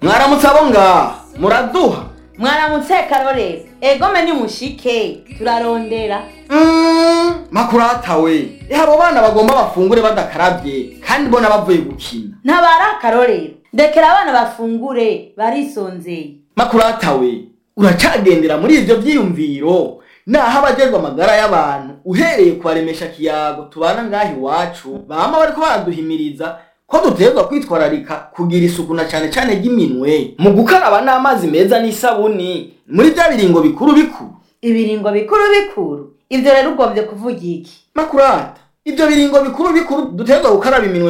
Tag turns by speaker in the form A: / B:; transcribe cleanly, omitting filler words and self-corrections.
A: Mwaramutse abo ngaha muraduha.
B: Mwaramutse Karorero. Egome ni mushike turarondera.
A: Makurata we, abo bana bagomba bafungure badakaravye kandi bona bavuye gukina.
B: Ntabara Karorero, ndekera abana bafungure barisonzeye.
A: Makurata we, uracagendera muri ivyo vyiyumviro naho abajejwe amagara y'abantu uhereye kubaremesha kiyago tubana ngaha iwacu bama bariko baraduhimiriza ko dutegerezwa kwitwararika kugira isuku na cane cane ry'iminwe mu gukaraba n'amazi meza n'isabuni muri vya biringo bikuru bikuru.
B: Ibiringo bikuru bikuru, ivyo rero ugombye kuvuga iki?
A: Makurata, ivyo biringo bikuru bikuru dutegerezwa gukaraba iminwe.